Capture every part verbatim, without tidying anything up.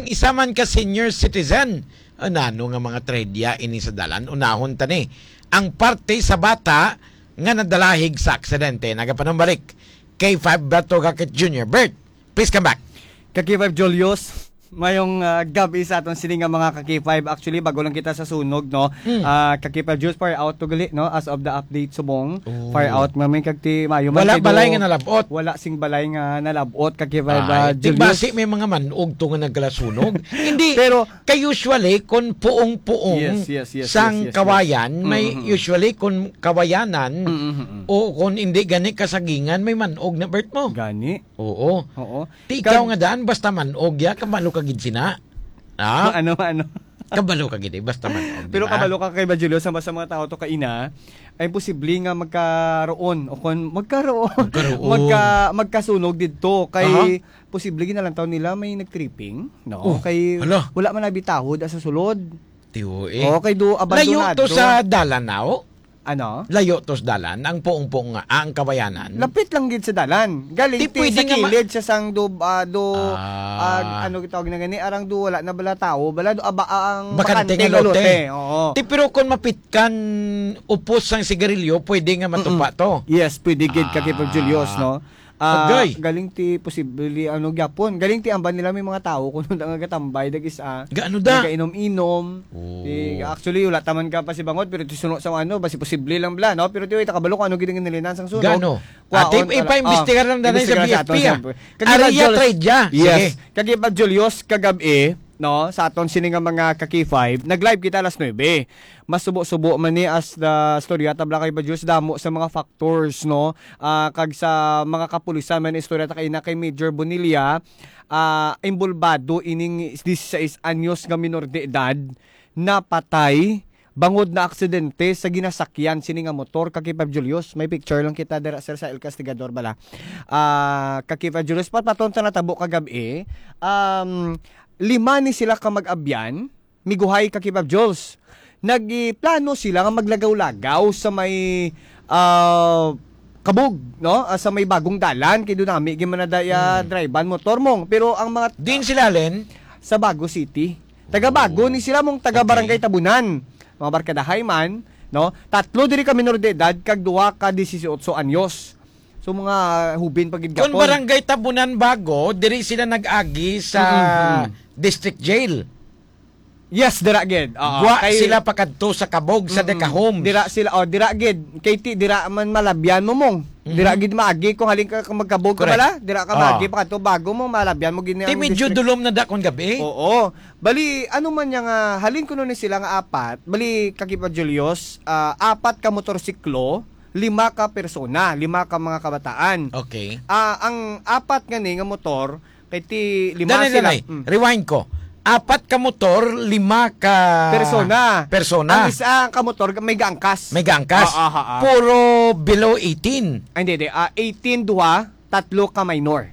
Isa man ka senior citizen, ah, nano nga mga trahedya ini sa dalan? Unahon ta ni ang parte sa bata nga nadalahig sa aksidente. Nagapanumbalik, K five Berto Gakit Junior. Bert, please come back. Ka K five Julius, mayong, ah, gab-i sa aton sini nga mga ka K five. Actually, bago lang kita sa sunog, no? Mm. Ah, ka K five Julius, fire out to gali, no? As of the update subong, Oh. fire out man may kagti mayo man Wala kay balay do nga nalabot. Wala sing balay nga nalabot, ka K five, Ay, ah, Julius. Tigbasi may mga manog to nga nagkalasunog. Hindi, Pero kay usually, kung puong-puong Yes, yes, yes, sang yes, yes, yes. kawayan, may Mm, mm, mm. usually kung kawayanan, Mm, mm, mm. o kung hindi gani kasagingan, may manog na, Bert, mo. Gani. Oo. Oo. Ti ikaw Kag- nga daan, basta manog ya, kabalo ka gid sina. Ha? Ano, ano? Kabalo ka gid, eh, basta manog, di Pero ba? kabalo ka kay ba, Julio, sa, sa mga tao to kaina, ay posible nga magkaroon, o kung magkaroon, Magkaroon. magka-, magkasunog didto, kay Aha. posible ginalantaw nila may nag-tripping, no? Oh, Kay hala. wala man nabitahod sa sulod. Tiyo, eh. Oh, kay do Layo abandonado. to sa dalan, no? Ano? Layo to sa dalan, ang puong-puong nga, ah, ang kawayanan. Lapit lang gid sa dalan. Galing Di ti pwede sa nga ma- kilid siya sang do, ah, do, Ah. ah, ano gitawag na gani, arang do wala na bala tao, bala do, aba, ang Bakante bakante nga nga lote. lote. Oo. Ti, pero kung mapitkan upos sang sigarilyo, pwede nga matupa Mm-mm. to. Yes, pwede gid, ka Kipag Julius, Ah. no? Ah, Agay. galing ti posible, ano, gyapon. Galing ti amban nila may mga tao kuno na nga gatambay, dag isa, Gaano da? nagainom-inom. Oh. Ti, actually, wala taman ka pa si Bangot, pero ti suno sa ano, basi posible lang bala, no? Pero ti, wait, kabalo ko ano gid ang nilinan sang sunog. Gano? Kwaon Ate, ala-, ipaimbestigar ah, lang danay sa imbestigar sa B F P, aton ah. sa Kagibad Area Julius. Trade, ah. Yes. Sige. Kagibad Julius, kagab-i, no? Sa aton sini nga mga ka K five, nag-live kita alas nuebe. Mas subo-subo man ni as the storya tabla kay Bajos, damo sa mga factors, no? Ah, kag sa mga kapulisan man istorya ta kay na kay Major Bonilla, ah, involbado ining dieciséis anyos nga minor de edad napatay bangod na aksidente sa ginasakyan sini nga motor, ka Kipab Julius. May picture lang kita dira, sir, sa El Castigador bala. Ah, ka Kipab Julius, patpaton ta natabo kagab-i. Um, lima ni sila ka mag-abyan, miguhay ka Kipab Jules. Nagplano sila nga maglagaw-lagaw sa may, ah, Kabug, no? Ah, sa may bagong dalan, kay dunami gid man na daya Hmm. drive-an motor mong. Pero ang mga Din sila, Len? Sa Bago City. Taga Bago Oh. ni sila mong taga Okay. Barangay Tabunan. Mga barkadahay man, no? Tatlo diri ka minor de edad kag duha ka dieciocho anyos. So, mga hubin pa gid Kung gapon. Barangay Tabunan Bago, diri sila nag-agi sa Mm, mm, mm. district jail. Yes, dira gid. Oo, Gwa kay sila pakadto sa Kabog sa Mm-mm. Deca Homes. Dira sila, oh, dira gid. Kay ti, dira man malabyan mo mong. Mhm. Dira gid maagi kung halin ka, ka magkabog ka Correct. bala, dira ka Ah. maagi pakadto bago mo malabyan mo gid Ti ang medyo district. dulom na da kon gabi. Oo. Bali, ano man niya nga, halin kuno ni sila nga apat, bali, Kakipa Julius, ah, apat ka motorsiklo, lima ka persona, lima ka mga kabataan. Okay. Ah, ang apat nga ni nga motor, kay ti lima Danay, sila. danay. Mm. Rewind ko. Apat ka motor, lima ka Persona. persona. Ang isa ka motor, may gaangkas. May gaangkas. Ah, ah, ah, ah. Puro below eighteen. Ay, hindi, hindi. Ah, eighteen, duha, tatlo ka minor.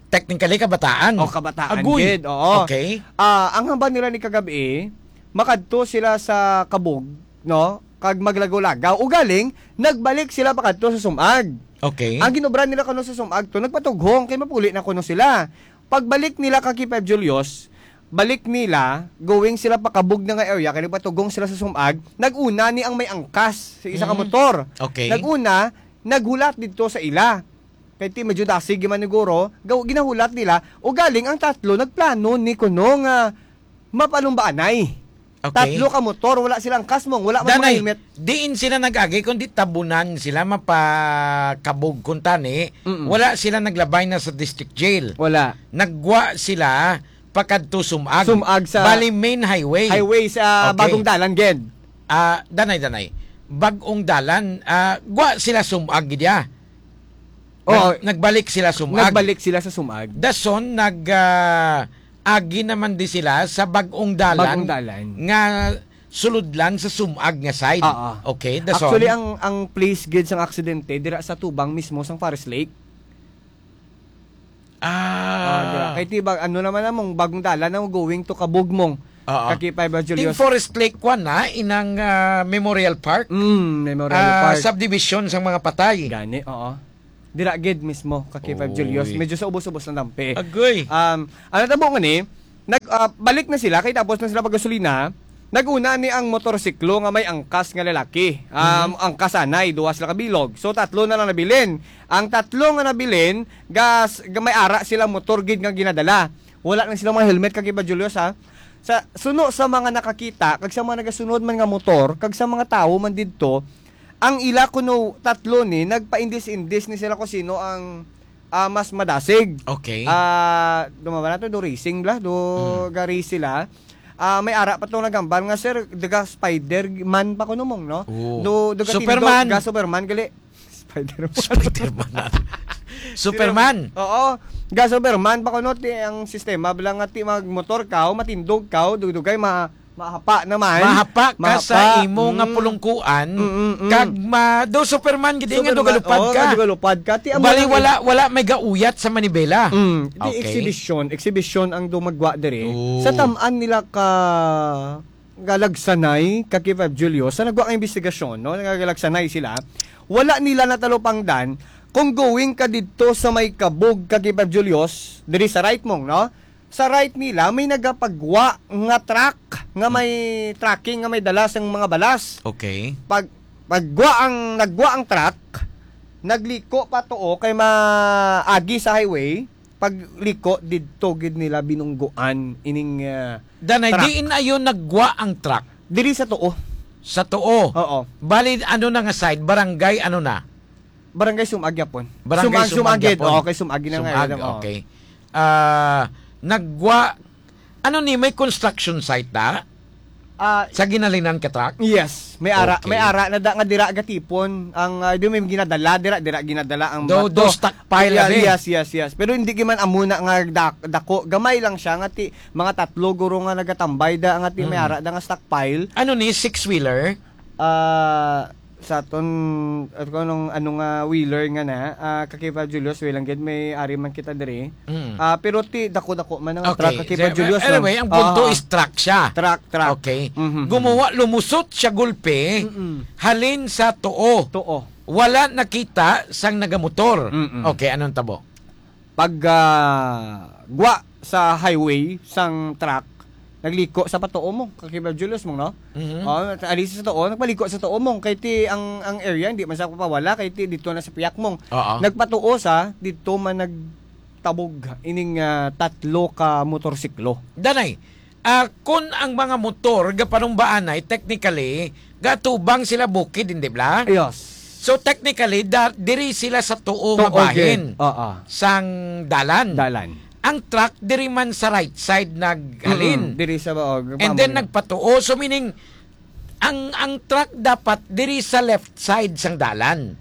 Technically, kabataan. O, kabataan Agoy. gid, oo. Okay. Ah, ang hambal nila ni kagabi, makadto sila sa Kabog, no? Kag maglagaw-lagaw. Ugaling, nagbalik sila pakadto sa Sumag. Okay. Ang ginobra nila kuno sa Sumag to, nagpatughong kay mapuli na kuno sila. Pagbalik nila ka K five Julius, balik nila, going sila pa Kabog na nga area, kay nagpatughong sila sa Sumag, nag-una ni ang may angkas sa isa ka Mm. motor. Okay. Nag-una, naghulat didto sa ila. Kay ti medyo dasig man niguro, gaw-, ginahulat nila, ugaling ang tatlo nagplano ni kuno nga mapalumbaanay. Okay. Tatlo ka motor, wala silang kasmong, wala man mga Danay, helmet. diin sila nag-agi, kundi Tabunan sila, mapakabog kuntani. Mm-mm. Wala sila naglabay na sa district jail. Wala. Naggwa sila pakadto Sumag. Sumag sa Bali, main highway. highway sa Okay. Bagong Dalan, gid. Ah, danay, danay. Bagong Dalan, ah, gwa sila Sumag gid ya. Oo. Nag-, nagbalik sila Sumag. Nagbalik sila sa Sumag. Dason, nag, ah, agi naman di sila sa Bagong Dalan Bagong Dalan. nga sulod lang sa Sumag nga side. Oo. Okay, dason. Actually, ang, ang place gid sang aksidente, dira sa tubang mismo sang Forest Lake. Ah. Ah, dira. Kay ti ba, ano naman namong Bagong Dalan na going to Kabugmong. Oo. Kaki pa Evangelio. Team Forest Lake one na, inang, ah, Memorial Park. Mm, Memorial Ah, Park. subdivision sang mga patay. Gani, oo. Dira gid mismo, ka K five Julius. Uy. Medyo sa ubos-ubos na dampi. Agoy. Um, ano tabo nga ni, Nag, ah, balik na sila, kay tapos na sila paggasolina. Nag-una ni ang motorsiklo nga may angkas nga lalaki. Um, Mhm. Angkas anay, duha sila ka bilog. So, tatlo na lang nabilin. Ang tatlo nga nabilin, gas, ga-, may ara sila motor gid nga ginadala. Wala na sila mga helmet, Kakiba Julius, ha? Sa, suno sa mga nakakita, kag sa mga nagasunod man nga motor, kag sa mga tawo man didto, ang ila kuno tatlo ni, nagpaindis-indis ni sila kung sino ang, ah, mas madasig. Okay. Ah, dumawa na to, do racing bla, do Hmm. ga-race sila. Ah, may ara pa tong nagambal nga, "Sir, daga Spider-Man pa kuno mong, no?" Oo. Do, daga Superman. Tindog, ga Superman, gali. Spider-Man. Spider-Man na. Superman. Oo. Ga Superman pa kuno, ti, ang sistema bla nga ti magmotor ka, o matindog ka, o dugdugay, ma-, mahapa naman. Mahapa ka sa Mahapa. imo nga Mm. pulungkuan, Mm, mm. kag ma-, do Superman gid nga Superman, dugalupad oo, ka. nga dugalupad ka. Ti, amo Bali, lang wala, wala may gauyat sa manibela. Mm. Di Okay. exhibition, exhibition ang dumagwa diri. Oo. Sa taman nila ka galagsanay, Kakiba Julio, sa nagwa nga investigasyon, no? Nagalagsanay sila. Wala nila natalupangdan kung going ka didto sa may Kabog, Kakiba Julius, diri sa right mong, no? Sa right nila, may nagapagwa nga truck, nga may tracking, nga may dala sang mga balas. Okay. Pag, pagwa ang, nagwa ang truck, nagliko pa tuo kay maagi sa highway, pagliko didto gid nila binunggoan ining, ah, Danay, truck. Diin ayon nagwa ang truck? Diri sa tuo. Sa tuo? Oo. Bali, ano na nga side? Barangay, ano na? Barangay Sumag yapon. Barangay Sumag, Sumag Sumag gid. yapon. Okay, Sumag na nga Sumag, yun, oo. okay. Ah, nagwa, ano ni, may construction site na? Ah, Sa ginalinan ka truck? Yes, may ara, Okay. may ara na da, nga dira gatipon ang, ah, di may ginadala dira, dira ginadala ang Do, bato. do stockpile Yes, na, eh. yes, yes, yes. Pero hindi giman amo na nga dak-, dako, gamay lang siya nga ti mga tatlo guro nga nagatambay da nga ti may Mm. ara da nga stockpile. Ano ni, six-wheeler? Ah, sa ton, at kung anong, ano nga wheeler nga na, ah, Kakiba Julius, way lang gid, may ari man kita diri. Mm. Ah, pero ti dako-dako man ang Okay. truck, Kakiba So, Julius, anyway, no? ang punto Ah, is truck siya. Truck, truck. Okay. Mhm. Gumawa, lumusot siya gulpi, Mm-mm. halin sa tuo. Tuo. Wala nakita sang nagamotor. Mm-mm. Okay, anong tabo? Pag, ah, gwa sa highway sang truck, nagliko sa patuo mo, Kakiba Julius mong, no? Mhm. Oh, ali sa tuo, nagpaliko sa tuo mong, kay ti ang, ang area, hindi man sa papawala, kay ti dito na sa piyak mong. Oo. Nagpatuo sa, dito man nagtabog ining, ah, tatlo ka motorsiklo. Danay, ah, kun ang mga motor gapanumbaanay, technically, gatubang sila bukid, hindi bla? Yes. So, technically, da-, diri sila sa tuo nga Tuo, bahin gid. Oo. sang dalan. Dalan. Ang truck diri man sa right side naghalin. Mm-mm, diri sa, oh, And then pamulong. nagpatuo. So, meaning, ang, ang truck dapat diri sa left side sang dalan.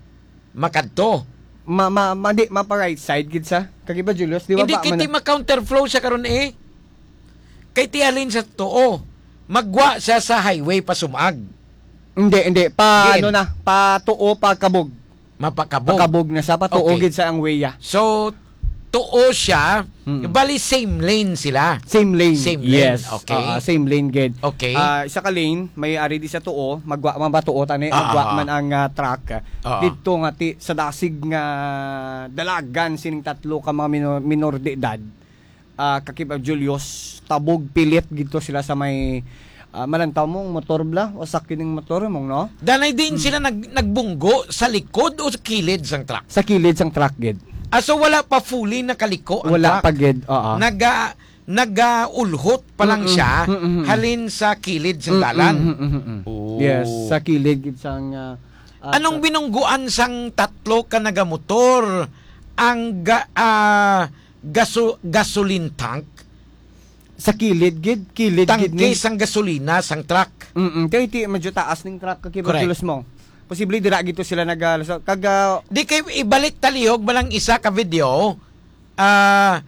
Makadto. Ma-, ma-, ma-, di, mapa right side gid sa. Kakiba Julius, di ba Hindi ba, kiti mana- ma-counterflow siya karon eh. Kay ti halin sa tuo. Magwa siya sa highway pa Sumag. Hindi, hindi. Pa, Diin? ano na, pa tuo, pa Kabog. Mapakabog. Pakabog na sa patuo Okay. gid sa ang weya. So, tuo siya, Mm. bali same lane sila. Same lane. Same lane. Yes. Okay. Ah, same lane gid. Okay. Ah, isa ka lane, may ari di sa tuo, magwa man ba tuo tani, Ah, magwa ah. man ang, ah, truck. Ah. Didto nga ti, sa dasig nga dalagan sining tatlo ka mga minor, minor de edad. Ah, Kakib Julius, tabog pilit gidto sila sa may, ah, malantaw mong motor bla, o sakit ning motor mong, no? Danay din Hmm. sila nag-, nagbunggo sa likod o sa kilid sang truck? Sa kilid sang truck gid. Ah, so wala pa fully nakaliko ang Wala truck? pa gid, oo. Naga-, nagaulhot pa lang Mm-mm. siya, Mm-mm. halin sa kilid sang Mm-mm. dalan. Mm-mm. Oh. Yes, sa kilid gid sang, ah, ah, Anong sa binungguan sang tatlo ka nagamotor ang ga-, ah, gaso-, gasoline tank? Sa kilid gid, kilid gid Tangke ni. sang gasolina sang truck. Mm-mm. Kay ti medyo taas ning truck, Kakib Correct. Julius mo. Posible dira gito sila nag, ah, so, kag, ah, Di kay ibalik talihog man ang isa ka video. Ah,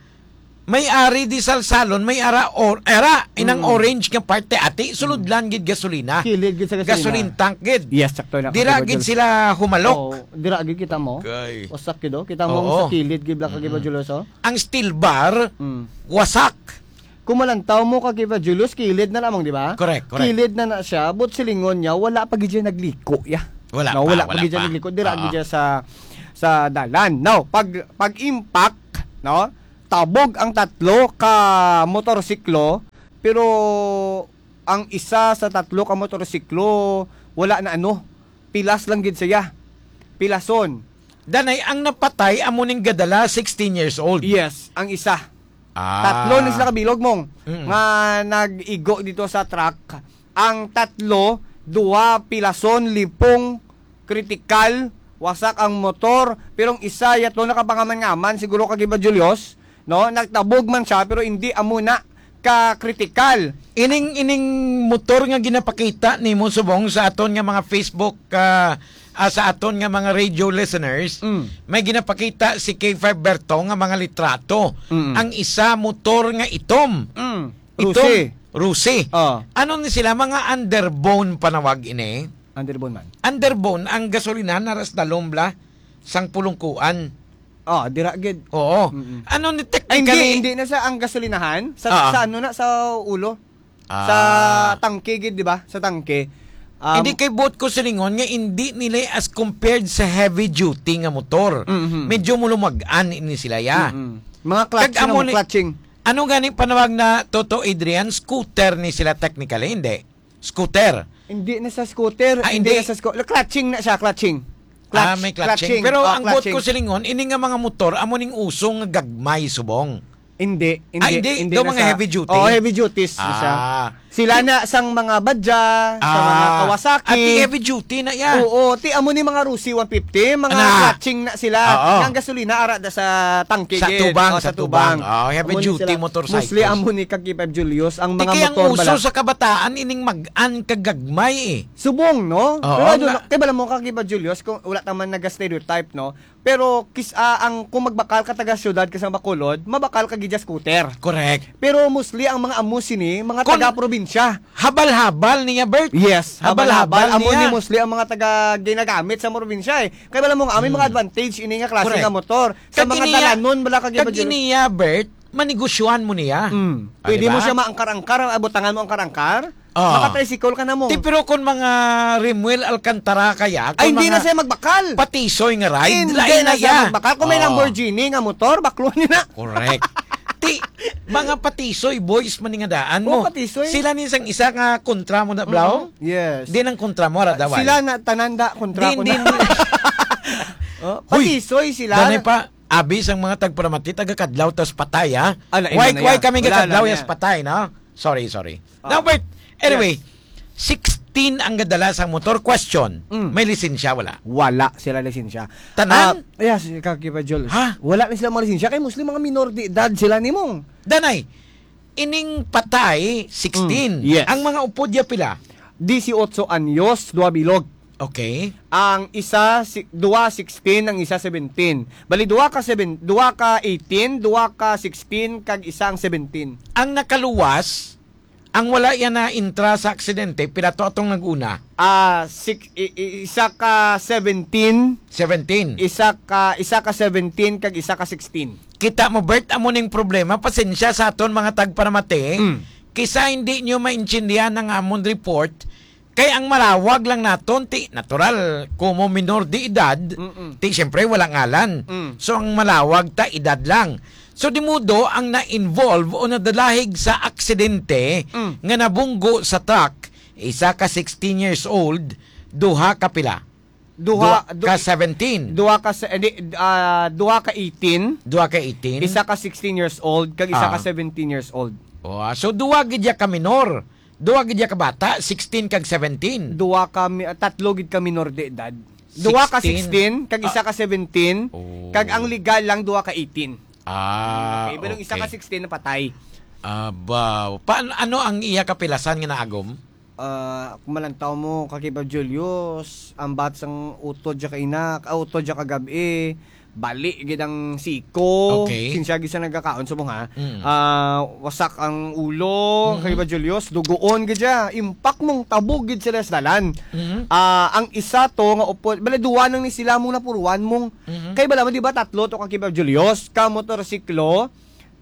may ari di salsalon, may ara or, ara, inang Mm. orange nga parte, ati, sulod Mm. lang gid gasolina. Kilid gid sa gasolina. Gasoline tank gid. Yes, sakto na, Dira Kakib gid Julius. sila humalok. Oo, dira gid kita mo. Okay. Wasak gid, oh. Kita mo Oo. sa kilid gid, Black Kakib Mm. Julius, oh. Ang steel bar, Mm. wasak. Kung malantaw mo, Kakib Julius, kilid na lamang, di ba? Correct, correct. Kilid na na siya, but silingon niya, wala pa gid siya nagliko, ya. Wala No, pa, wala pa wala gid siya pa. nagliko. Dira Oo. gid siya sa, sa dalan. Now, pag, pag impact, no? Tabog ang tatlo ka motorsiklo, pero ang isa sa tatlo ka motorsiklo, wala na ano, pilas lang gid siya. Pilason. Danay, ang napatay amo ning gadala, sixteen years old. Yes, ang isa. Ah. Tatlo ni sila kabilog, Mong, Mm. nga nag-igo dito sa truck. Ang tatlo, duha pilason, lipong, kritikal, wasak ang motor, pero ang isa yato nakapangaman-ngaman, siguro, Kagiba Julius, no? Nagtabog man siya, pero hindi amo na ka kritikal. Ining, ining motor nga ginapakita nimo, Subong, sa aton nga mga Facebook, ah, ah, sa aton nga mga radio listeners, Mm. may ginapakita si K five Berto nga mga litrato. Mm. Ang isa, motor nga itom. Mm. Itom, Rusi. Rusi. Oh. Ano ni sila? Mga underbone panawag ini? Underbone man. Underbone, ang gasolinahan na ras dalom bla sang pulungkuan. Oh, dira gid. Oo. Mm-mm. Ano ni Ay, hindi, technically? Hindi na sa ang gasolinahan, sa, Ah. sa ano na, sa ulo. Ah. Sa tangke gid, di ba? Sa tangke. Um, Hindi kay buot ko silingon nga hindi nila as compared sa heavy duty nga motor. Mhm. Medyo mulumag-an ini sila, ya. Mm-mm. Mga clutch Kag na amo mo, ni, clutching. Ano gani panawag na, Toto Adrian? Scooter ni sila technically, hindi? Scooter. Hindi na sa scooter, Ah, hindi hindi. na sa sco-, clutching na siya, clutching. Ah, Clutch, may clutching. clutching. Pero Oh, ang buot clutching. ko silingon, ini nga mga motor, amo ning uso nga gagmay, Subong. Hindi, Ah, hindi, hindi. hindi Daw na mga sa heavy duty? Oh, heavy duties na siya. Ah. Sila na sang mga Badya, sa mga Ah. Kawasaki. Ah, ti heavy duty na yan. Oo, ti amo ni mga Rusi one fifty, mga Ana. clutching na sila. Oo. Nga ang gasolina ara da sa tangke Sa gid. tubang, Oh, sa sa tubang. tubang. Oh, heavy Amo ni duty sila. motorcycles. Mostly amo ni Kaki Five Julius, ang mga Tiki ang motor uso bala. sa kabataan, ining mag-an kagagmay eh. Subong, no? Oo, Pero I don't nga. know, kay bala mo, Kaki Five Julius, kung wala ta man naga-stereotype, no? Pero kis-, ah, ang, kung magbakal ka taga syudad ka sa Bacolod, mabakal ka gid sa scooter. Correct. Pero mostly ang mga amo sini, mga Kon- taga probinsya. Habal-habal niya, Bert. Yes, Habal-habal habal-habal. Amo niya. ni mostly ang mga taga ginagamit sa probinsya eh. Kay bala mo nga, may mga Hmm. advantage ini nga klase Correct. nga motor. Sa Kag mga iniya, dalanon, bala ka kag gibadyo- iniya, Bert, manegosyohan mo niya. Mm. Ah, Pwede di mo ba? siya maangkar-angkar, abutangan mo angkar-angkar. Ah. Maka-tricycle ka na mo. Ti, pero kung mga Rimuel Alcantara kaya, kung Ay, hindi mga na siya magbakal. patisoy nga ride, Hindi lain na na siya ya. magbakal. Kung may Oo. Lamborghini nga motor, bakluhan niya na. Correct. Ti, mga patisoy boys man nga daan mo. Oh, patisoy. Sila ni sang isa nga kontra mo na, Blau? Mhm. Yes. Di nang kontra mo, ara, daway. Sila na tananda kontra Di, ko di, na. di. Oh, Hoy, patisoy sila. danay pa, abi sang mga tagparamati, taga-Kadlaw tas patay, ha? Ah, lain Why, na why niya. kami Wala na ga-Kadlaw niya. yas patay, no? Sorry, sorry. Ah, Now, wait. Anyway, yes. sixteen ang gadala sang motor. Question, Mm. may lisensya, wala? Wala sila lisensya. Tanan? Ah, yes, Kakipa Jules. Ha? Wala na sila mga lisensya. Kay mostly mga minor de edad sila nimong. Danay, ining patay, sixteen. Mm, yes. Ang mga upod ya pila? Dieciocho anyos, dua bilog. Okay. Ang isa, si, dua sixteen, ang isa seventeen. Bali, dua ka seven, dua ka eighteen, dua ka sixteen, kag isa ang seventeen. Ang nakaluwas, ang wala yan na intra sa aksidente, pila to atong nag-una? Ah, six, i, i, isa ka seventeen. Seventeen. Isa ka, isa ka seventeen, kag isa ka sixteen. Kita mo, Bert, amo ning problema. Pasensya sa aton mga tagparamati. Mm. Kisa hindi nyo maintindihan ang amon report, kay ang malawag lang naton, ti natural, como minor de edad, Mm-mm. ti siyempre wala ngalan. Mm. So, ang malawag ta edad lang. So, di mudo ang na-involve o nadalahig sa aksidente Mm. nga nabunggo sa truck, isa ka sixteen years old, duha ka pila? Duha, Duha du-, ka seventeen. duha ka se-, hindi, ah, duha ka eighteen, Duha ka eighteen. isa ka sixteen years old, kag isa ka Ah. seventeen years old. Oh, ah, so duha gid ya ka minor. Duha gid ya ka bata, sixteen kag seventeen. Duha ka mi-, tatlo gid ka minor de edad. Duha ka Sixteen? sixteen, kag isa Ah. ka seventeen, Oh. kag ang legal lang duha ka eighteen. Ah, Okay, pero isa ka okay. sixteen napatay. Aba, pa-, ano ang iya kapilasan nga naagom? Ah, kung malantaw mo, Kakipa Julius, ang bat sang utod siya kainak, ah, utod siya kagabi, bali gid ang siko. Okay. Sinsya gid sa nagkakaon sa mga, Mm. ah, wasak ang ulo, Mhm. Kakipa Julius, dugoon gid siya. Impak mong tabog gid sila sa dalan. Mhm. Ah, ang isa to nga upod, bali duwa nang ni sila mong napuruan mong, Mhm. kay bala mo, di ba, tatlo to, Kakipa Julius, ka motorsiklo,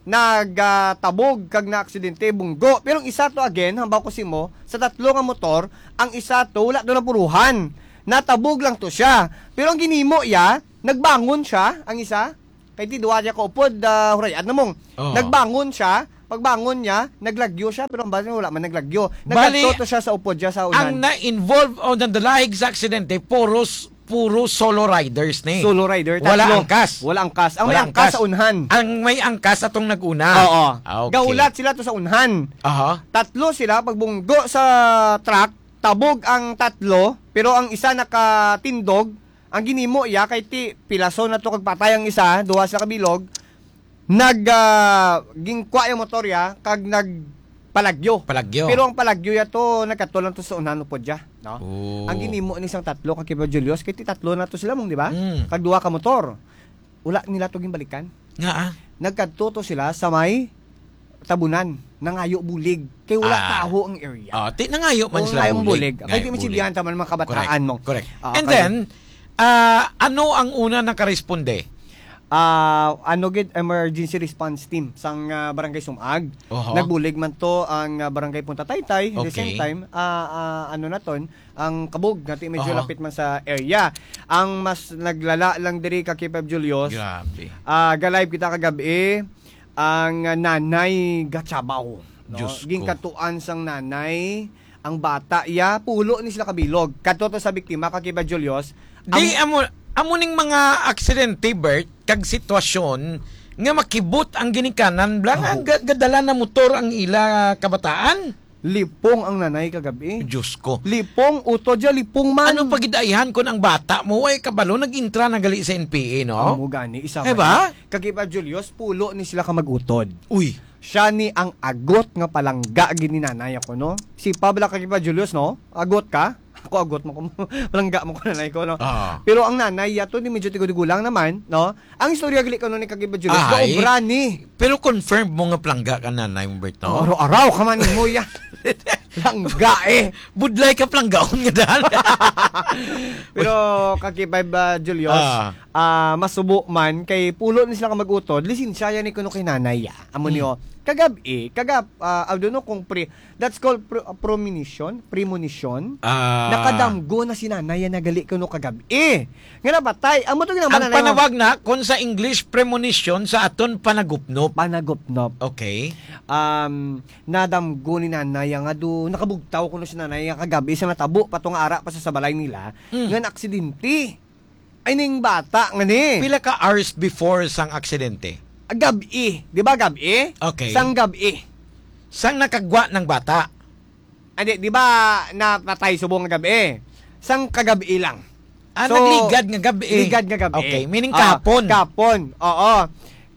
nag, ah, tabog kag naaksidente, bunggo. Pero ang isa to again, hambaw ko simo, sa tatlo nga motor, ang isa to wala to napuruhan. Natabog lang to siya. Pero ang ginimo iya, nagbangon siya, ang isa. Kay ti duwa niya ka upod, ah, hurayan na mong. Oo. Nagbangon siya, pagbangon niya, naglagyo siya, pero ang bali wala man naglagyo. Bali, nagkadto to siya sa upod siya sa ang unan. Na-involve o nandalahig sa aksidente, puros, puro solo riders ni. Solo rider, wala tatlo. Angkas. Wala angkas. Ang may Wala angkas angkas. Sa unhan. Ang may angkas atong nag-una. Oo. Ah, okay. Gahulat sila to sa unhan. Aha. Tatlo sila, pagbunggo sa truck, tabog ang tatlo, pero ang isa nakatindog. Ang ginimo iya kay ti pilason na to kag patay ang isa, duha sila kabilog. Nag, ah, gingkwa yung motor ya kag nagpalagyo. Palagyo. Pero ang palagyo ya to nagkatol lang to sa unahan upod ya, no? Oh. Ang ginimo ni sang tatlo ka Kiba Julius, kay ti tatlo na to sila mong, di ba? Mm. Kag duha ka motor. Wala nila to ginbalikan. Nga, ah? Nagkadto to sila sa may tabunan, nangayo bulig. Kay wala Ah. Taho ang area. Oh, ti nangayo man Oo, sila ngayong bulig. Bulig. Kay Ngayo di man bulig. Sibyahan taman mga kabataan Correct. Mo. Correct. Ah, And kay then, ah, ano ang una nakaresponde? Ah, ano gid, emergency response team sang, ah, Barangay Sumag. Oho. Nagbulig man to ang, ah, Barangay Punta Taytay. At the Okay. Same time, ah, ah, ano na ton, ang kabog nga ti medyo Oho. Lapit man sa area. Ang mas naglala lang diri ka K five Julius. Grabe. Ah, ga-live kita kagabi ang, ah, nanay gachabaw, no? Diyos ko. Gingkatuan sang nanay ang bata iya, pulo ni sila kabilog. Kadto to sa biktima ka K five Julius. Di, Ang amo, amo ning mga aksidente, Bert, kag sitwasyon nga makibot ang ginikanan, bla, nga Aho. ga-, gadala na motor ang ila kabataan. Lipong ang nanay kagabi. Diyos ko. Lipong, utod siya, lipong man. Ano pagidaihan kun ang bata mo, ay kabalo, nag-intra na gali sa N P A, no? Amo gani, isa Eh man ba? Ni. Kag iba, Julius, pulo ni sila ka mag-utod. Uy. Siya ni ang agot nga palangga gid ni nanay ako, no? Si Pabla kag iba, Julius, no? Agot ka? Ako agot mo ko, palangga mo ko nanay ko, no? Ah. Pero ang nanay yato ni medyo tigulang naman, no? Ang istorya gali ko ni kag iba, Julius, Ahay. Gaobra ni. Pero confirmed mo nga palangga ka nanay mo, Bert, no? Araw-araw ka man mo ya. Langga eh. Budlay ka palanggaon nga daan. Pero kakipay ba, Julius? Ah. Ah, masubo man kay pulo ni sila ka mag-utod, lisensya yan ni kuno kay nanay, ah. Amo Hmm. niyo, kagab-i, kagab-, ah, I don't know kung pre-, that's called pre-, premonition, premonition. Ah. Nakadamgo na si nanay yan nagali kuno kagab-i. Nga napatay. Amo to ginang Ang nanay mo. Panawag na, kung sa English, premonition, sa aton panagupnop. Panagupnop. Okay. Um, nadamgo ni nanay nga do, nakabugtaw kuno si nanay nga kagab-i sa natabo pa to nga ara pa sa, sa balay nila, Mm. nga naaksidente. Ay, ning bata nga ni. Pila ka hours before sang aksidente? Gab-i. Di ba gab-i? Okay. Sang gab-i. Sang nakagwa ng bata? Andi, di ba napatay subong nga gab-i? Sang kagab-i lang. Ah, So, nagligad nga gab-i. Ligad nga gab-i. Okay, meaning Ah, kahapon. Kahapon, oo.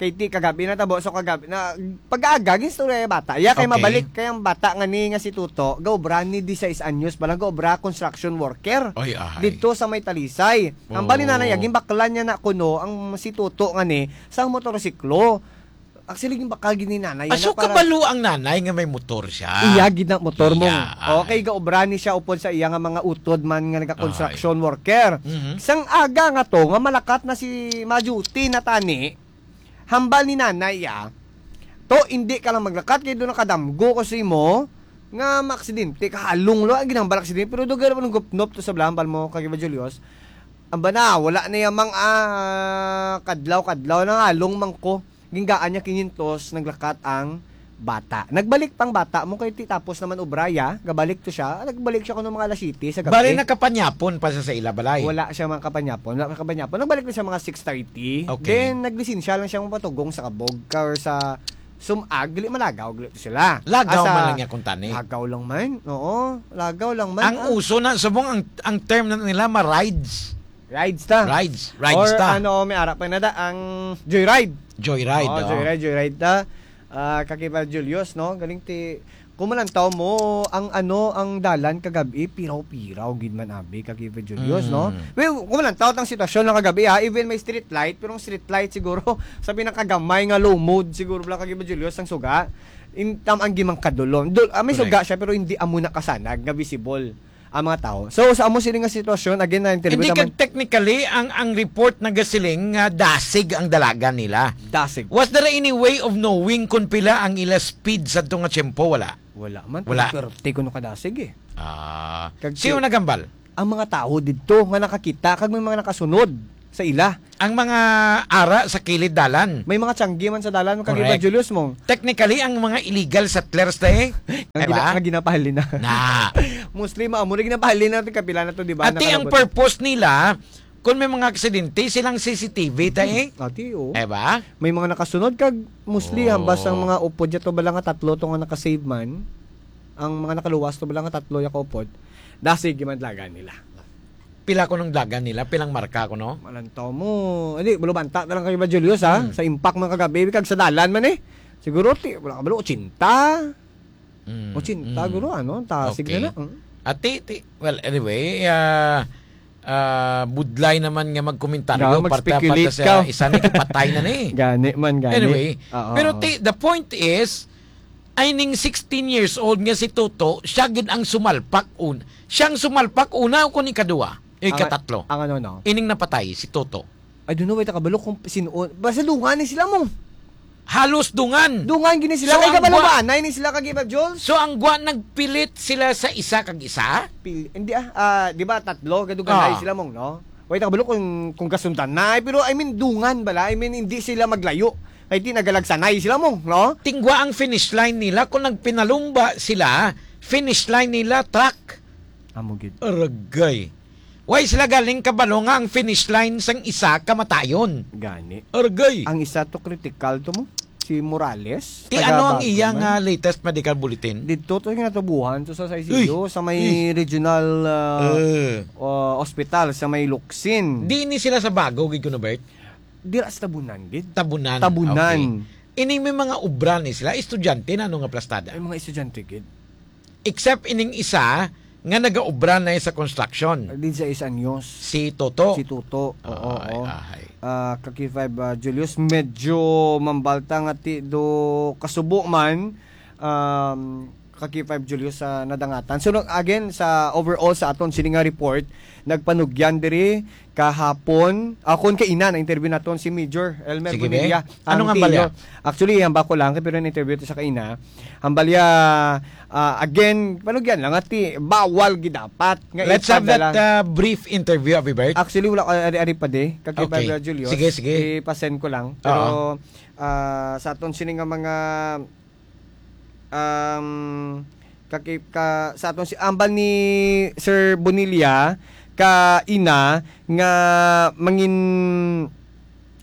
Kay ti kagabi na tabo, so kagabi na pag-aaga, ginstorya yung bata. Ya, kay Okay. Mabalik kay ang bata nga ni nga si Tuto, gaobra ni disais anyos pa lang, gaobra construction worker. Oy, ahay. Dito sa may Talisay. Ang bali Oo. Nanay, gimbaklan niya na kuno ang si Tuto nga ni sa motorsiklo. Actually, gimbakal gid ni nanay. Ah, yan so na para kabalo ang nanay nga may motor siya? Iya, gid na motor mo. Iya, ay. Okay, gaobra ni siya upod sa iya nga mga utod man nga naga-construction Ay. Worker. Mhm. Sang aga nga to, nga malakat na si ma-duty na tani, hambal ni nanay, ah, to, hindi ka lang maglakat, kay doon nakadamgo ko sa imo, nga maaksidente, kahalong lo, ang ginambal aksidente, pero doon gano'n gupnop to sa blambal mo, kag iba Julius. Ang bana, wala na yamang, ah, kadlaw-kadlaw, nangalong man ko. Ginggaan niya kinyentos, naglakat ang bata. Nagbalik pang bata mo, kay ti tapos naman obraya, gabalik to siya. Nagbalik siya kuno mga alas siyete sa gabi. Bali, nakapanyapon pa siya sa ila balay? Wala siya mga kapanyapon. Wala kapanyapon. Nagbalik na siya mga six thirty. Okay. Then, naglisensya lang siya mapatugong sa kabog ka or sa sumag. Dili malagaw, dili to sila. Lagaw Asa, man lang niya kung tani. Lagaw lang man. Oo, lagaw lang man. Ang Ah. uso na, subong ang, ang term na nila, ma-rides. Rides ta. Rides. Rides Or ta. Ano, may ara pa na da, ang joyride. Joyride, Oh, oh. Joyride, joyride ta. Ah, Kakiba Julius, no? Galing ti, kung malantaw mo, ang ano, ang dalan kagabi, piraw-piraw gid man abi, Kakiba Julius, no? Mm. Well, kung malantaw ang sitwasyon lang kagabi, ha? Even may street light, pero ang street light siguro, sa pinakagamay nga low mode, siguro lang, Kakiba Julius, ang suga. In, tam, ang gimang kadulom. Dul, ah, may Correct. Suga siya, pero hindi amo na kasanag nga visible ang mga tao. So, sa amo sini nga sitwasyon, again, na-interview Hindi naman. Kag technically, ang, ang report nagasiling nga dasig ang dalagan nila. Dasig. Was there any way of knowing kung pila ang ila speed sa nga tiyempo? Wala. Wala man. Wala. Thirty kuno kadasig eh. Ah, Kag sino si-, nagambal? Ang mga tao didto nga nakakita, kag may mga nakasunod. sa ila. Ang mga ara sa kilid dalan. May mga tiyanggi man sa dalan, Correct. Kag iba, Julius, mo. Technically, ang mga illegal settlers, eh. Ang Diba? gina-, ang ginapahalin na. Na. Mostly, maamo na ginapahalin natin, kapila na to, di ba? Ati, ang Nakalabot. purpose nila, kung may mga aksidente, silang C C T V, ta, eh. Ati, oh. Diba? May mga nakasunod, kag mostly, Oh. hambas ang mga upod, yato bala nga tatlo to nga nakasave man. Ang mga nakaluwas to bala nga tatlo ya kaupod. Dasig, gimandlagan nila. Pila ko nung dagan nila, pilang marka ko, no? Malantaw mo. Hindi, bulubanta na lang kayo ba, Julius, ha? Hmm. Sa impact man kagabi, kag sa dalan man eh. Siguro, ti, wala ka ba, ochenta? Hmm, Ochenta, hmm. guro, ano? Tasig Okay. na na. Hmm. Ati, ti, well, anyway, ah, ah, budlay naman nga magkomentaryo, Nga, parte, mag-speculate parte sa ka. isa ni, kipatay na ni. Gani man, gani. Anyway, Oo, pero oo. ti, the point is, ay ning sixteen years old nga si Toto, siya gid ang sumalpak un-, siyang sumalpak una o kun ikadua, Ang, ikatatlo. ang ano, no? Ining napatay, si Toto. I don't know, wait, kabalo kung sino. Basta dungan ni sila mo. Halos dungan. Dungan gini sila. So, Kay ang kabalo gwa- ba? Anay ni sila kag iba, Jules? So, ang gwa nagpilit sila sa isa kag isa? Pil-, hindi ah, ah, di ba tatlo? Gaduganay Ah. sila mong, no? Wait, kabalo kung, kung kasundan na. Pero, I mean, dungan bala. I mean, hindi sila maglayo. Kay di nagalagsanay sila mong, no? Tingwa ang finish line nila. Kung nagpinalumba sila, finish line nila, truck. Amo gid. Aragay. Why sila galing kabalo nga ang finish line sang isa kamatayon? Gani. Aragay. Ang isa to critical to mo, si Morales, Ti taga ano ang Baguio iya man. nga latest medical bulletin? Dito to yung natubuhan to sa, sa Uy! I C U, sa may Uy! regional, ah, Eh. ah, hospital, sa may Luksin. Di ni sila sa Bago, gid kuno, Bert? Dira sa Tabunan, gid. Tabunan. Tabunan. Okay. Ini may mga obra ni sila, estudyante na ano nga plastada? May mga estudyante, gid. Except ining isa nga nagaobra na sa construction. Di sa is anyos. Si Toto. Si Toto. Oo, Ay, oo. ahay. Ah, Kaki five, ah, Julius, medyo mambalta nga ti do kasubo man, um, Kaki five Julius sa nadangatan. So, no, again, sa overall sa aton sini nga report, nagpanugyan diri kahapon, akon kay ina na interview naton si Major Elmer Sige, Bonilla, be. Ano ang nga balya? T E O. Actually, ang bako lang, pero na-interview to sa kaina. Ang balya, ah, again, panugyan lang, ati, bawal gidapat nga Let's have ipadala. that, uh, brief interview, Abibert. Actually, wala ko ari, ari pa di. Kag kay Okay. Brother Julius, Sige, sige. ipasend ko lang. Pero, Oo. ah, sa aton sini nga mga, um, kaki-, ka, sa aton si, ambal ni Sir Bonilla, ka ina, nga mangin-,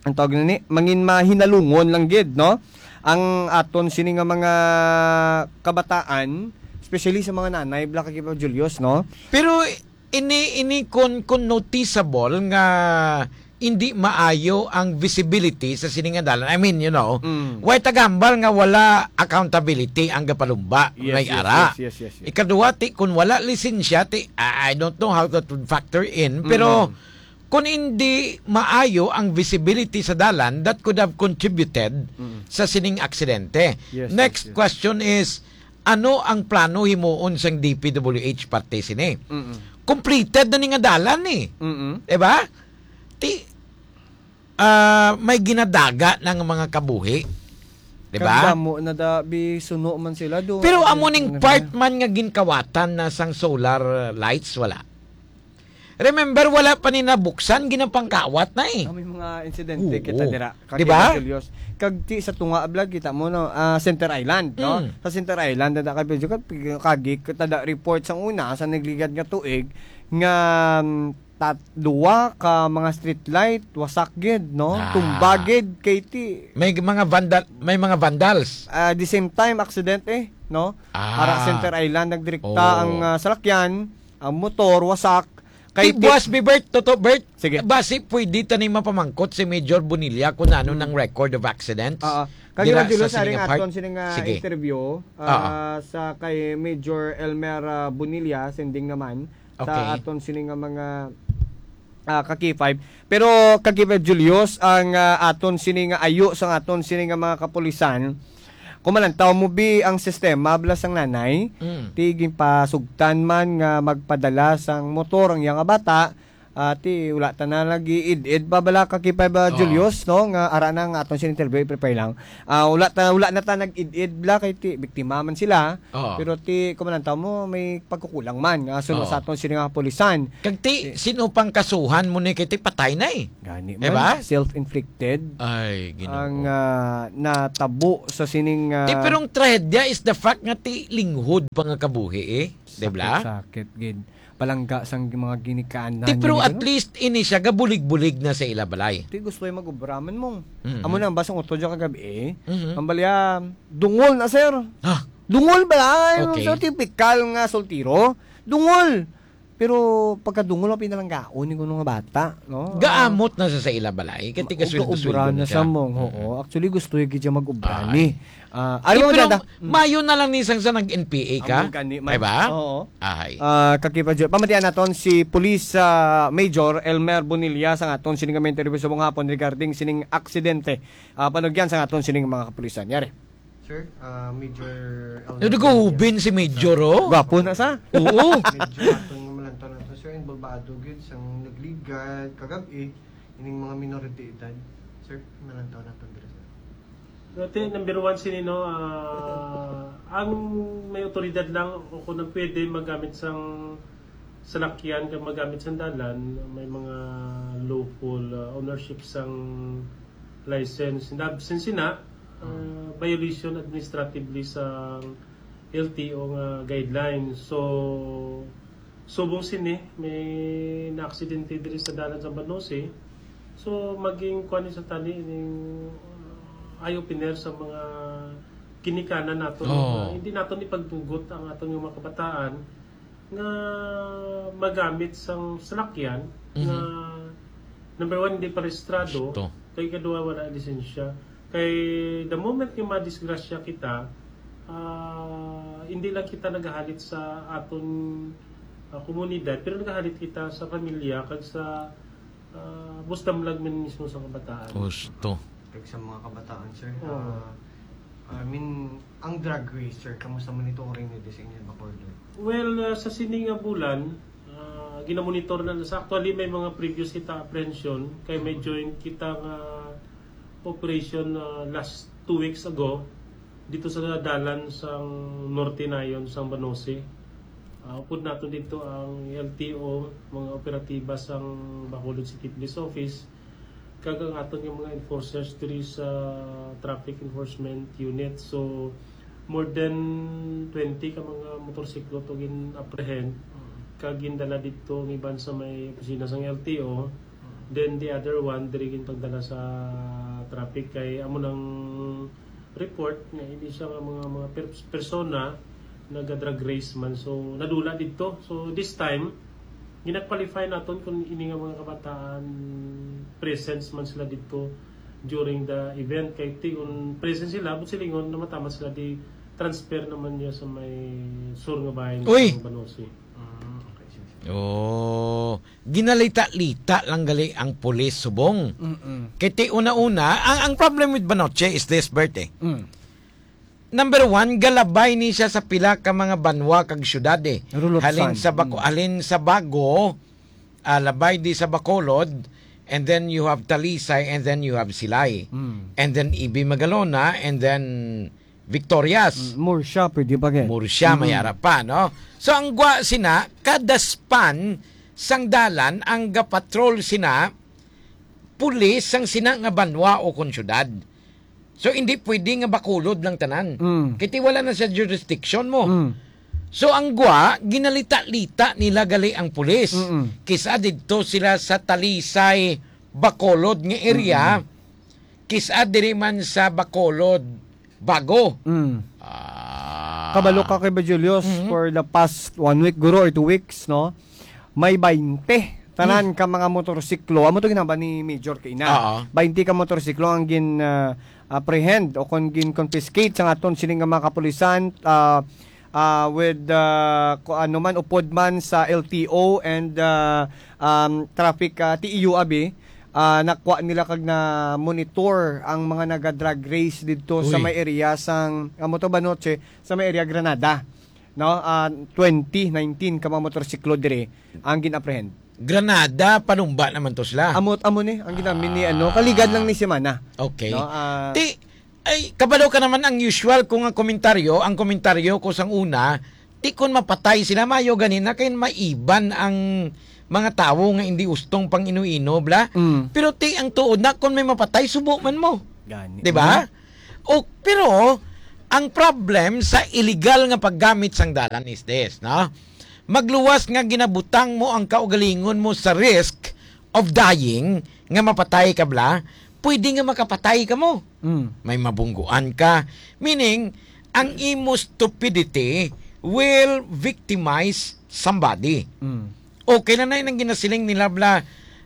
ang tawag na ni, mangin mahinalungon lang gid, no? Ang aton sini nga mga kabataan, especially sa mga nanay, Black Akipa Julius, no? Pero ini, ini kun, kun noticeable nga hindi maayo ang visibility sa sini nga dalan. I mean, you know, Mm. way tagambal nga wala accountability ang gapalumba Yes, may yes, ara. yes, yes, yes, yes. Ikaduwa, ti, kun wala lisensya, ti, I I don't know how that would factor in, pero Mm. Kung hindi maayo ang visibility sa dalan, that could have contributed Mm. sa sining aksidente. Yes, Next yes, yes. question is, ano ang plano himuon sang D P W H parte sini? Mm-mm. Completed na ni nga dalan ni. Mm-mm. Diba? Ti, ah, may ginadaga ng mga kabuhi. Diba? Kagdamo na da, bisuno man sila do. Pero amo ning Ano part na? man nga ginkawatan na sang solar lights, wala. Remember, wala pa ni nabuksan, ginapangkawat na eh. Ah, may mga insidente Oo. kita dira. Di ba? Kag Julius, kag ti sa tunga ablag kita mo no, ah, Center Island, no? Mm. Sa Center Island na kay Pedro kag kagi kita da report sa una sa nagligad nga tuig nga mm, tat duwa ka mga street light wasak gid, no? Ah. Tumba gid kay ti May mga vandal, may mga vandals. Ah, the same time accident eh, no? Ah. Ara Center Island nagdirekta Oo. ang ah, salakyan, ang motor wasak. Kay Ti-, ti- buwas, Bert, toto, Bert. Sige. Basi pwede tani mapamangkot si Major Bonilla kung ano Hmm. nang record of accidents. Oo. Kag Dira Evangelist, sa aring nga part. aton sini nga Sige. interview, Oo. ah, sa kay Major Elmer, ah, Bonilla, sending naman, sa Okay. aton sini nga mga, ah, ka K five. Pero ka K five Julius, ang, ah, aton sini nga ayo sa aton sini nga mga kapulisan, Kung malantaw mo bi ang sistema bala sang nanay, Mm. ti ginpasugtan man nga magpadala sang motor ang iya nga bata, Ati, wala ta na lagi id-id pa bala ka kay pa ba, Oo. Julius, no? Nga ara na nga aton sining interview, i-prepare lang. Ah, wala ta, wala na ta nag-id-id bala kay ti, biktima man sila. Oo. Pero ti, kumanantaw mo, may pagkukulang man. Nga, suno Oo. sa aton sining mga kapulisan. Kag ti, Ti- sino pang kasuhan mo ni kay ti patay na eh? Gani Diba? man, self-inflicted. Ay, Ginoo. Ang, ah, natabo sa sining, ah, Ti, pero ang trahedya is the fact nga ti linghod pa nga kabuhi eh. Diba? Sakit-sakit, gid. Palangga sang mga ginikanan Ti, pero nga at gino. least ini siya gabulig-bulig na sa ila balay. Ti, gusto yung mag-obra man mo. Mhm. Amo na ang basang utod siya kagabi eh. Mhm. Ang balya, dungol na, sir. Ha? Dungol ba? Ay, Okay. so typical nga soltiro. Dungol. Pero pagkadungol, ang pinalanggaon ni kuno nga bata, no? Gaamot na sa, sa ila balay. Kay Ma-, tiga sweldo-sweldo uga-ubra na na siya. sa mong, oo. Mm. Actually, gusto yung gidya mag-ubra Ay. ni. Ah, Di, alam mo, pero dada, mm. mayo na lang ni sang sa nag-N P A ka. Amo gani man. Diba? Oo. Ahay. Ah, kakipa dyan. Pamatian naton si Police, ah, Major Elmer Bonilla sa aton sining nga interview sa mga hapon regarding sining aksidente. Ah, panugyan sa aton sining mga kapulisan. Yari. Sir, ah, Major Elmer Bonilla. Nagahubin si Major, oh. Gwapo na sa. Oo. Medyo aton nga malantaw nato, sir, involvado gyud sang nagligad kagab-i ining mga minor de edad. Sir, malantaw naton dira, sir. Dati, number one sini, no, ah, ang may otoridad lang o kung ang pwede magamit sang salakyan kag magamit sang dalan, may mga lawful, ah, ownership sang license. In the absence sina, ah, violation administratively sang L T O nga guidelines. So, subong sini, may naaksidente diri sa dalan sa Banose. So, maging kuan ni sa tani, ning, uh, eye-opener sa mga ginikanan naton. Oo. Uh, hindi naton ipagtugot ang aton nga mga kabataan nga magamit sang salakyan Mhm. nga, number one, hindi pa rehistrado, Ito. kay ikaduha, wala lisensya. Kay the moment nga madisgrasya kita, ah, hindi lang kita nagahalit sa aton, ah, komunidad, pero nagahalit kita sa pamilya kag sa, ah, bustamlag man mismo sa kabataan. Husto. Kag sa mga kabataan, sir, Oo. ah, I mean, ang drag race, sir, kamusta monitoring niyo sa inyo, Bacolod? Well, ah, sa sini nga bulan, ah, ginamonitor na, sa actually may mga previous kita apprehension, kay may joint kita nga operation, ah, last two weeks ago dito sa dalan sang Norte Nayon, sang Banose. Ah, upod naton dito ang L T O, mga operatiba sang Bacolod City Police Office, kag ang aton nga mga enforcers diri sa traffic enforcement unit. So, more than twenty ka mga motorsiklo to gin-apprehend, Mm. kag gindala dito ang iban sa may opisina sang L T O. Mm. Then, the other one, diri ginpagdala sa traffic kay amo nang report nga ini siya nga mga, mga per-, persona naga-drag race man. So, nadula dito. So, this time, gina-qualify naton kung ini nga mga kabataan presence man sila dito during the event. Kay ti kung present sila, but silingon na mataman sila di transfer naman niya sa may sur nga bahin Uy! sa Banosi. Mm, okay, sige, sige. Oh, ginalita-lita lang gali ang pulis subong. Mm-mm. Kay ti una-una, ang, ang problem with Banoche is this, Bert, eh. Mm. Number one, galabay ni siya sa pila ka mga banwa kag syudad, eh. Rulotsan. Halin sa Baco-, Mm. halin sa Bago, ah, labay di sa Bacolod, and then you have Talisay, and then you have Silay. Mm. And then Ibi Magalona, and then Victorias. Mm, Murcia, pwede pa, eh. Murcia, Mm. may ara pa, no? So, ang gwa sina, kada span sang dalan, ang gapatrol sina, pulis sang sina nga banwa o kon syudad. So, hindi pwede nga Bacolod lang tanan. Mm. Kay ti wala na sa jurisdiction mo. Mm. So, ang gwa, ginalita-lita nila gali ang pulis. Mm-mm. Kisa didto sila sa Talisay, Bacolod nga area. Mm-mm. Kisa diri man sa Bacolod, Bago. Mm. Ah. Kabalo ka kay ba, Julius, Mm-hmm. for the past one week, guro, or two weeks, no? May baynte tanan Hmm. ka mga motorsiklo. Amo to ginhambal ni Major kaina. Oo. Baynte ka motorsiklo ang gin, ah, apprehend o kon gin-confiscate sa aton sining nga mga kapulisan, ah, ah, with, ah, ku-, ano man, upod man sa L T O and, ah, um, traffic, ah, T E U abi, ah, nakuha nila kag na-monitor ang mga naga-drag race didto sa Uy. may area sang, amo to ba, Noche? Sa may area Granada. No? Ah, twenty, nineteen ka mga motorsiklo diri ang gin-apprehend. Granada, panumba naman to sila. Amo, amo ni, ang ginamit ni, ano, kaligad lang ni semana. Okay. No, ah, Ti, ay, kabalo ka naman ang usual ko nga komentaryo, ang komentaryo ko sang una, ti kon mapatay sila, mayo gani na kay maiban ang mga tawo nga hindi ustong pang ino-ino, bla. Mm. Pero ti, ang tuod na, kon may mapatay, subo man mo. Gani. Di ba? Mm. O, pero, ang problem sa illegal nga paggamit sang dalan is this, no? Magluwas nga ginabutang mo ang kaugalingon mo sa risk of dying, nga mapatay ka bla, pwede nga makapatay ka mo. Mm. May mabungguan ka. Meaning, ang imo stupidity will victimize somebody. Mm. Okay na na nang ginasiling nila bla,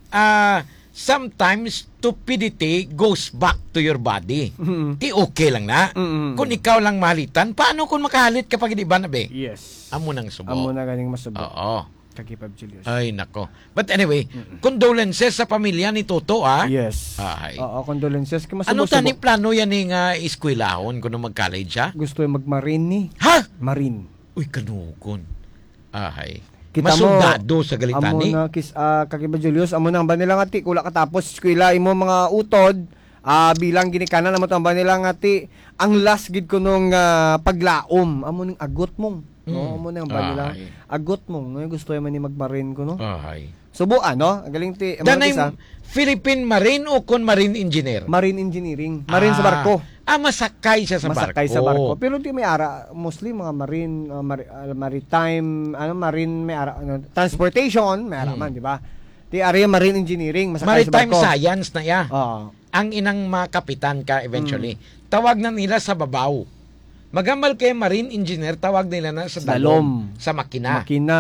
ah, sometimes stupidity goes back to your body. Mm. Ti okay lang na. Mm. Kung ikaw lang mahalitan, paano kung makahalit ka pag iban na, be? Yes. Amo nang subo. Amo na ganing masubo. Oo. Kaki Fab Julius. Ay, nako. But anyway, Mm-mm. condolences sa pamilya ni Toto, ah. Yes. Ay. Oo, condolences. Kay masubo-subo. Ano tani plano yan ni nga eskwelahon kuno mag-college, ha? Gusto yung mag-marine ni. Ha? Marine. Uy, kanugon. Ahay. Kita mo, Masoldado sa amo galitani. Na, kis-, ah, Kaki Fab Julius, amo na ang ba nila nga ti, kula katapos eskwela, imo mga utod, ah, bilang ginikanan, amo to ang ba nila nga ti, ang last gid ko nung, ah, paglaom, amo ning agot mong. No, Mm. amo na ang ba nila? Ahay. Agot mong, no, gusto man ni magmarin ko, no? Ahay. Subuan, no? Ang galing ti, ang Danay mga isa, Philippine Marine o kon Marine Engineer? Marine Engineering. Marine sa Ah. barko. Ah, masakay siya sa Masakay barko. sa barko. Pero di may ara, mostly mga marine, uh, mari-, uh, maritime, ano, marine, may ara, ano, transportation, may ara Hmm. man, di ba? Di area marine engineering, masakay sa Maritime barko. science na iya. Oo. Ang inang mga kapitan ka eventually. Hmm. Tawag na nila sa babaw. Magambal kay marine engineer, tawag nila na sa Sa dalom, lom. sa makina. Makina.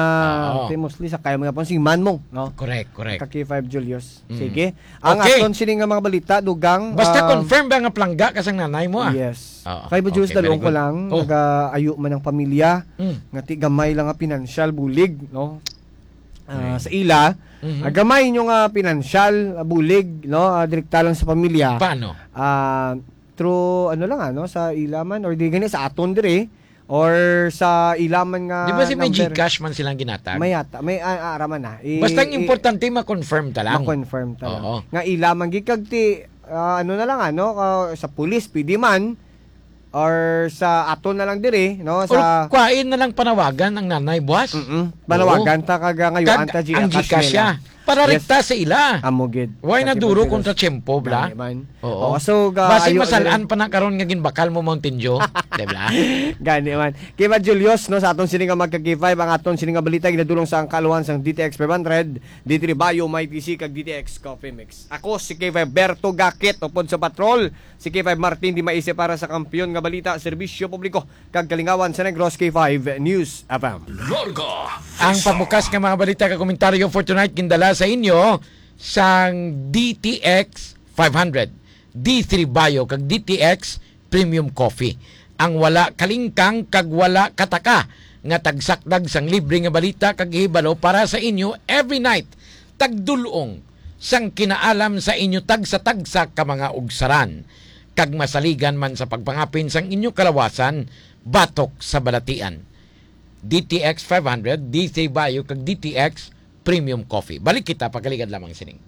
Oo. Di mostly sa kaya mo yapon, si man mo, no? Correct, correct. Kaki Five Julius. Mm. Sige. Ang Okay. aton sini nga mga balita, dugang, Basta um, confirm ba nga plangga ka sang nanay mo, ah? Yes. Oo. Kay Bujus, Okay, dalawang very ko good. lang, Oh. nag-aayo man ang pamilya, Mm. nga ti gamay lang nga pinansyal, bulig, no? Ah, Right. sa ila, Mhm. ah, gamay nyo nga pinansyal, ah, bulig, no? Ah, direkta lang sa pamilya. Paano? Ah, through, ano lang, ano, sa ila man, or di gani sa aton diri, or sa ila man nga Di ba si may number. GCash man silang ginatag? May yata, may, ah, ah, ara man na. I-, Basta ang i-, importante, ma-confirm ta lang. Ma-confirm ta lang. Oo. Nga ila man gid kag ti, ah, ano na lang, ano, ah, sa pulis, pwede man, or sa aton na lang diri, no, Or sa kwain na lang panawagan ang nanay, buwas. Mm-mm. Panawagan Oo. ta kag, ah, ngayon Kag ta ang GCash GCash nila. siya. Para Yes. rekta sa ila. Amo gid. Why na Sa duro Pilipinas. kontra tiyempo, bla? Dali man. Oo. Oo, so, ga-, Basig ayo, masalan ayo. pa na karon nga ginbakal mo Mountain Dew, di ba? Gani man. Kay Julius, no, sa aton sini nga magka-K five, ang aton sini nga balita ginadulong sa ang kaluhan sang D T X five hundred, D three Bio, My P C, kag D T X Coffee Mix. Ako si K five Berto Gakit, upod sa patrol, si K five Martin Di Maise para sa Kampiyon nga Balita, Serbisyo Publiko, kag Kalingawan sa Negros, K five News F M. Larga Ang Vista. pamukas nga mga balita kag komentaryo for tonight gindala sa inyo sang D T X five hundred, D three Bio, kag D T X Premium Coffee. Ang wala kalingkang kag wala kataka nga tagsakdag sang libre nga balita kag hibalo para sa inyo every night, tagdulong sang kinaalam sa inyo tagsa-tagsa ka mga ugsaran, kag masaligan man sa pagpangapin sang inyo kalawasan batok sa balatian. D T X five hundred, D three Bio, kag D T X Premium Coffee. Balik kita pagkaligad lamang sining.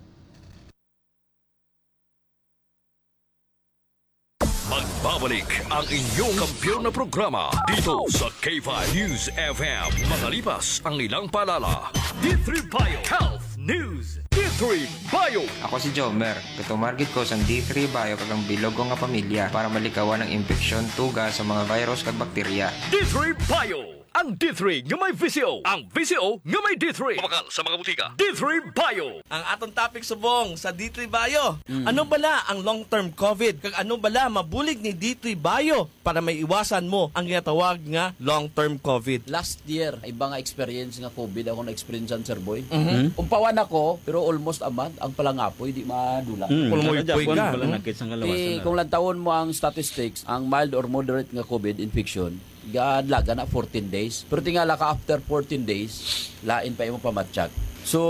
Magbabalik ang inyong kampiyon na programa dito sa K five News F M. Makalipas ang ilang paalala. D three Bio Health News. D three Bio. Ako si Jomer. Gatumar gid ko sang D three Bio kag ang bilog ko nga pamilya para malikawan ang impeksyon, tuga sa mga virus kag bakterya. D three Bio. Ang D three nga may V C O. Ang V C O nga may D three. Mabakal sa mga butika. D three Bio. Ang aton topic subong sa D three Bio. Mm. Ano bala ang long-term COVID? Kag ano bala mabulig ni D three Bio para maiwasan mo ang ginatawag nga long-term COVID? Last year, iba nga experience nga COVID ako na-experiencean, Sir Boy. Mhm. Hmm? Umpawan ako, pero almost a month, ang palangapoy, di madula. Hmm, Pulmoy kada puy Japon ka. pala Hmm? nagkit sa kalawasan Eh, na. kung lantawon mo ang statistics, ang mild or moderate nga COVID infection, gadlaga na fourteen days. Pero tingala ka, after fourteen days, lain pa imo pamatsyag. So,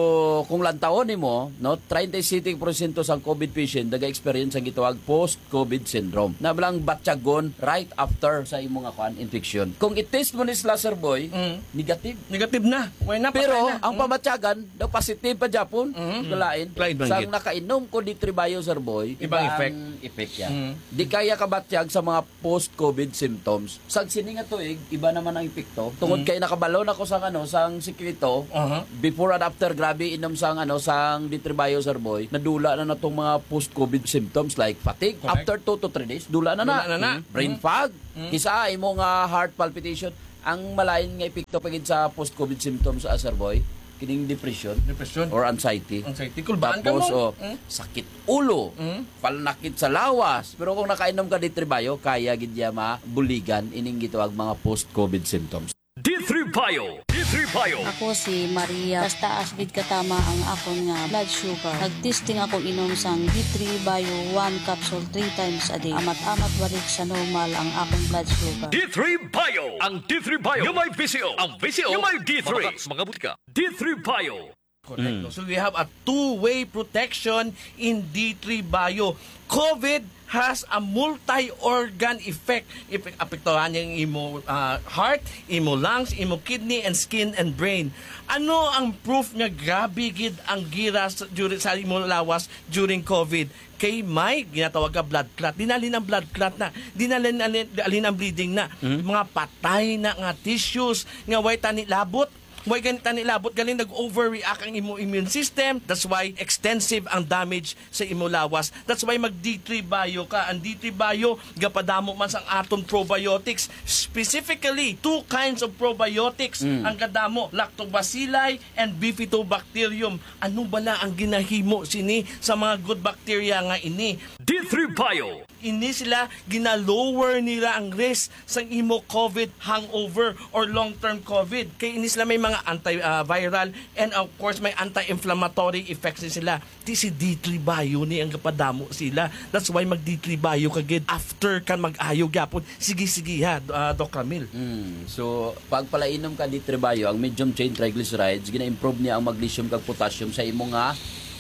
kung lantawon nimo, no, treinta y siete porsyento sang COVID patient naga-experience sang gitawag post-COVID syndrome. Na lang batyagon right after sa imo nga, kuan, infection. Kung i-test mo ni sila, Sir Boy, Mm. negative. Negative na. Way na, patay Pero na. ang Mm. pamatyagan, daw positive pa gyapon. Mm. Kalain. Lain man Sang gid. nakainom ko D three Bio, Sir Boy, Ibang ibang effect. effect yan. Mm. Di kaya kabatyag sa mga post-COVID symptoms. Sa sini nga tuig, iba naman ang epekto. Tungod Mm. kay nakabalo na ko sa, ano, sang sikreto, Aha. before and after, grabe inom sang, ano, sang D three Bio, Sir Boy, nadula na natong mga post-COVID symptoms like fatigue. Correct. After two to three days, dula na na. Dula na na. Mm. Brain Mm. fog. Mm. Kisa imo nga heart palpitation. Ang malain nga epekto pa gid sa post-COVID symptoms, ah, Sir Boy, kining depression Depression. or anxiety. Anxiety. Kulbaan ka Tapos, mo. oh, Mm. sakit ulo, Mm. palnakit sa lawas. Pero kung nakainom ka D three Bio, kaya gid niya mabuligan ining gitawag mga post-COVID symptoms. D three Bio. D three Bio. Ako si Maria. Taas-taas gid katama ang akon nga blood sugar. Nag-testing ako inom sang D three Bio one capsule three times a day. Amat-amat balik sa normal ang akon blood sugar. D three Bio. Ang D three Bio nga may V C O. Ang V C O nga may D three. Mabakal sa mga butika. D three Bio. Correct. Mm. So we have a two-way protection in D three Bio. COVID has a multi-organ effect. Epek-, apektuhan niya ang imo, ah, heart, imo lungs, imo kidney, and skin and brain. Ano ang proof nga grabe gid ang gira sa, during, sa imo lawas during COVID? Kay may ginatawag nga blood clot. Dinalin ang blood clot na. Dinalin, alin, alin ang bleeding na. Mhm. Mga patay na nga tissues nga way tani labot. Way gani tani labot, galing nag-overreact ang imo immune system. That's why extensive ang damage sa imo lawas. That's why mag D three Bio ka. Ang D three Bio, gapadamo man sang aton probiotics. Specifically, two kinds of probiotics Mm. ang gadamo, Lactobacilli and Bifidobacterium. Ano bala ang ginahimo sini sa mga good bacteria nga ini? D three Bio. Ini sila, gina-lower nila ang risk sang imo COVID hangover or long-term COVID. Kay ini sila may mga anti, ah, viral and of course may anti-inflammatory effects ni sila. Ti si D three Bio ni ang gapadamo sila. That's why mag D three Bio ka gid after kan mag-ayo gyapon. Sige, sige ha, ah, Doc Ramil. Mm. So, pag palainom ka D three Bio, ang medium chain triglycerides, gina-improve niya ang magnesium kag potassium sa imo nga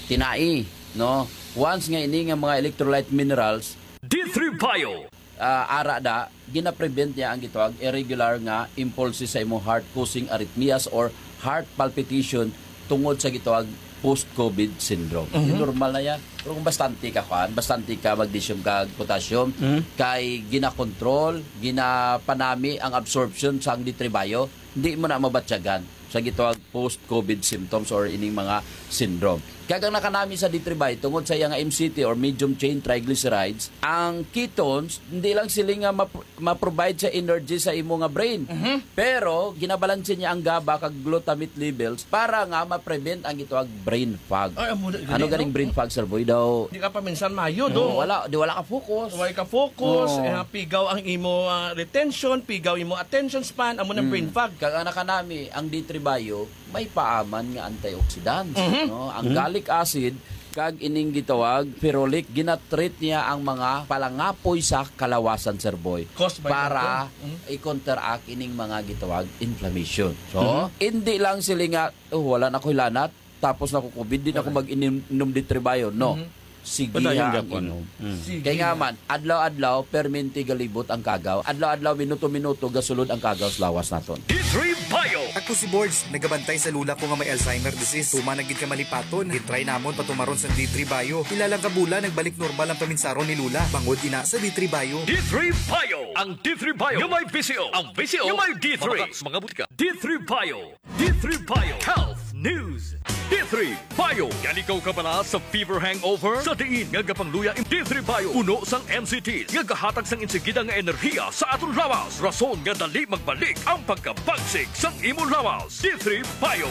tinai, no? Once nga ini nga mga electrolyte minerals, D three Bio. ah, ara da, gina-prevent niya ang gitawag irregular nga impulses sa imong heart, causing arrhythmias or heart palpitation tungod sa gitawag post-COVID syndrome. Mhm. Yung normal na yan. Pero kung bastante ka, kuan, bastante ka magnesium kag potassium, Mhm. kay ginakontrol, ginapanami ang absorption sang D three Bio, hindi mo na mabatyagan sa gitawag post-COVID symptoms or ining mga syndrome. Kag ang nakanami sa D three Bio, tungod sa iya nga M C T or medium chain triglycerides, ang ketones, hindi lang sila nga map-, ma-provide sa energy sa imo nga brain. Mhm. Pero, ginabalanse niya ang GABA kag glutamate levels para nga ma-prevent ang gitawag brain fog. Ay, amo na, Ano gani, ganing no? brain fog, Sir Boy? Daw, Di ka pa minsan mayo, Oo, do. wala, di wala ka focus. Wala ka focus, Oo. eh, pigaw ang imo, ah, retention, pigaw imo attention span, amo nang Mm. brain fog. Kag ang nakanami, ang D three Bio, may paaman nga antioxidants, Mhm. no? Ang Mhm. gallic acid kag ining gitawag ferulic, ginatreat niya ang mga palangapoy sa kalawasan, Sir Boy, Caused by para the Mm. i-counteract ining mga gitawag inflammation. So, Mhm. hindi lang sila nga, "Oh, wala na ko'y lanat, tapos na ko COVID, di na ko Okay. mag-inom D three Bio." No. Mhm. Sige Padayon ha ang gapon. inom. Mm. Sige Kay nga na. man, adlaw-adlaw, permente galibot ang kagaw. Adlaw-adlaw, minuto-minuto, gasulod ang kagaw sa lawas naton. D three Bio. Ako si Borge, nagabantay sa lula ko nga may Alzheimer disease. Tuman na gid ka malipaton. Gitry namon patumaron sa D three Bio. Pila lang ka bulan, nagbalik normal ang paminsaron ni Lula. Bangod ina sa D three Bio. D three Bio. Ang D three Bio nga may V C O. Ang V C O nga may D three. Mabakal sa mga butika. D three Bio. D three Bio Health News. D three Bio. Galigaw ka bala sa fever hangover? Sa diin nga gapangluya in D three Bio, puno sang M C T nga gahatag sang insigida nga enerhiya sa aton lawas. Rason nga dali magbalik ang pagkabagsik sang imong lawas. D three Bio.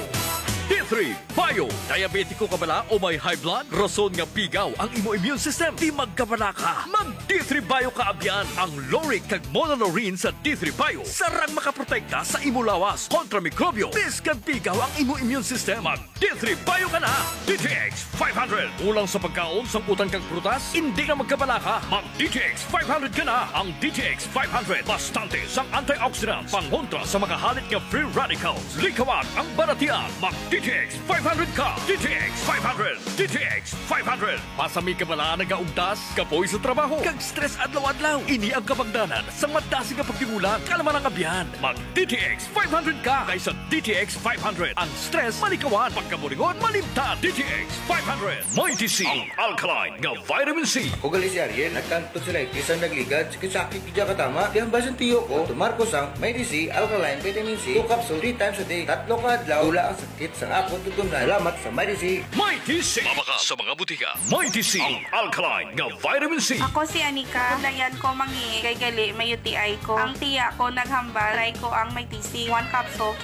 D three Bio. Diabetiko ka bala o may high blood? Rason nga pigaw ang imo immune system. Di magkabala ka. Mag D three Bio ka abyan. Ang lauric kag monolaurin sa D three Bio sarang makaprotekta sa imo lawas kontra mikrobyo. Biskag pigaw ang imo immune system, mag D three Bio ka na. D T X five hundred. Kulang sa pagkaon, sang utan kag prutas? Indi na magkabala ka. Mag D T X five hundred ka na. Ang D T X five hundred bastante sang antioxidants pangontra sa mga halit nga free radicals. Likawan ang balatian. Mag D T X five hundred ka, D T X five hundred, D T X five hundred. Masami ka bala nagaugtas, kapoy sa trabaho, kag stress adlaw-adlaw. Ini ang kabangdanan sang madasig nga pagtigulang, kalma lang abyan. Mag D T X five hundred ka kaysa D T X five hundred. Ang stress malikawan, pagkaburingon malimtan. D T X five hundred. Mighty C, ang alkaline nga vitamin C. Ugali si Ariel, nagkanto sila itis ang nagligad, sakit-sakit gid katama. Di ang basin tiyo ko, tumar ko sang Mighty C, alkaline vitamin C, two capsule, three times a day. Tatlo ka adlaw, wala ang sakit sang akon tutunan. Salamat sa Mighty C. Mighty C. Mabakal sa mga butika. Mighty C, ang alkaline nga vitamin C. Ako si Anika. Dayan ko mangi kay gali may U T I ko. Ang tiya ko naghambal, try ko ang Mighty C. One capsule, three